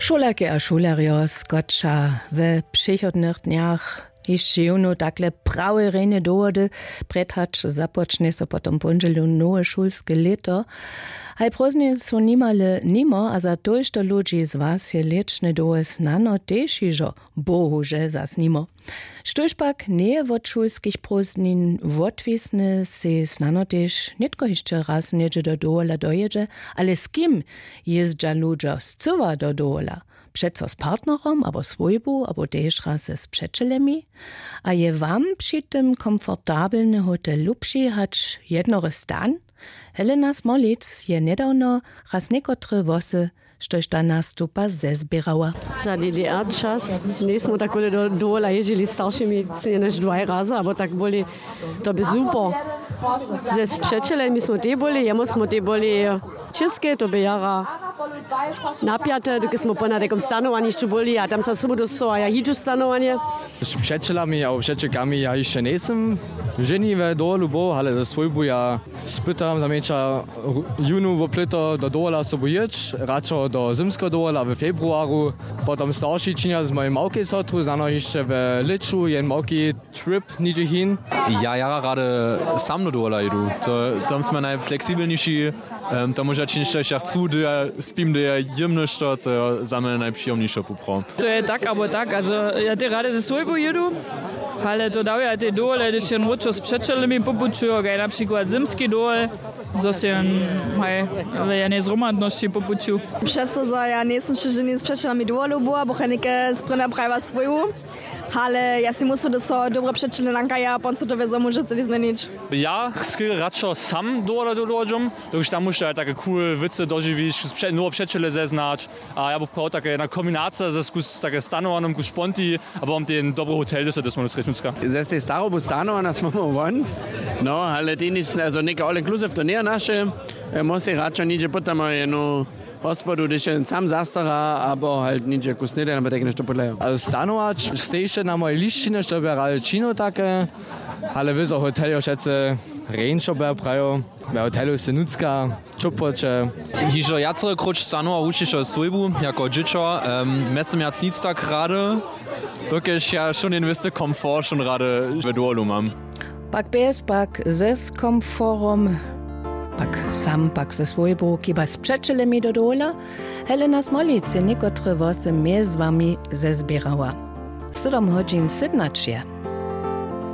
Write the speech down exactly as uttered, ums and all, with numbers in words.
Šulerke a šulerjo, skoča we přichodnych dnjach hišće jónu takle prawe rejne dowody. Prjed hač započnje so potom póndźelu nowe šulske lěto. Haj prózdniny su nimale nimo a za tójšto ludźi z was je lěćne doły snano tež hižo bohužel zas nimo. Štóž pak njeje wot šulskich prózdnin wotwisne, sej snano tež nětko hišće raz něhdźe do dowola dojědźe. Ale z kim jězdźa ludźo scyła do dowola? Přeco z partnerom abo swójbu abo tež raz z přećelemi? A je wam při tym komfortabelny hotel lubši hač jednory stan? Helena Smolic je njedawno raz někotre włosy, štož ta nastupa, zezběrała. Za ddr čas njejsmy tak wóle do dowola jězdźili staršimi cnjenjež dwaj razy abo tak wóle. To by super. Ze spřećelemi smy tej byli, jemu smy tej byli. Čěske to by jara napjate, dokelž smy ponad jakom stanowanišću byli a tam sa sobu dostowa ja hiću stanowanje. Z přećelami abo přećelkami ja hišće njejsym ženi we dowolu był, ale ze swójbu ja spytam za mjeńša jónu woplyto do dowola sobu jěć, radšo do zymskeho dowola w februaru. Potom starši činja z mojej małkej sotru znano hišće we lěću jen małki trip něhdźe hin. Ja jara rady sam do dowola jědu. To tam smy najfleksibelniši. Tam móža činić to ja chcu, do ja spim, do ja jěm něšto, to je za mnje najpřijomnišo poprawom. To je tak abo tak, also ja tej rady ze swójbu jědu. Ale to dawja tej dowole hdyž jen wróćo z přećelemi popućujo kaj na přikład zymski dowol, zo se jen haj w jenej zhromadnosći popuću. Přesto zo ja njejsym wšě ženi z přećelami dowolu była bochajnike sprěna prajiła swójbu. Ale ja sej musu do so dobre přećele nankaja a ponco to wězo móže celi změnić. Ja sky radšo sam dowola do dołodźom, dokelž tam móžeš tak cool wěcy dožiwić, nowe přećele zeznać. A ja bych prawił take jedna kombinacija ze skus take stanowanym ku šponti, abo mam ten dobry hotel do se dosmanu srěčnucka. Ze sej starobu stanowana smy mu won. No ale tej nic, also něka all inclusive to njeje naše. Mó sej radšo něhdźe pytamo jenu hospodu hdyž je sam zastara abo halt něhdźe ku snědaj abo tak něšto podlejo. Stanować stejše na mojej lisćinje što by rady činił take. Ale wězo hotel jo wšetcy rjeńšo by prajił. We hotelu sej nutřka, ćopłoće. Hižo wjacore króć stanowa wušćišo swójbu jako dźěćo. Mjeztym wjac nic tak rady, dokelž ja wšón jen wěsty komfort wšón rady we dowolu mam. Pak bjez pak ze z komforom, pak sam pak ze swójbu kiba z přećelemi do dowola. Helena Smolic je někotre włosy mjez wami zezběrała. Sydom hodźin sydnaće.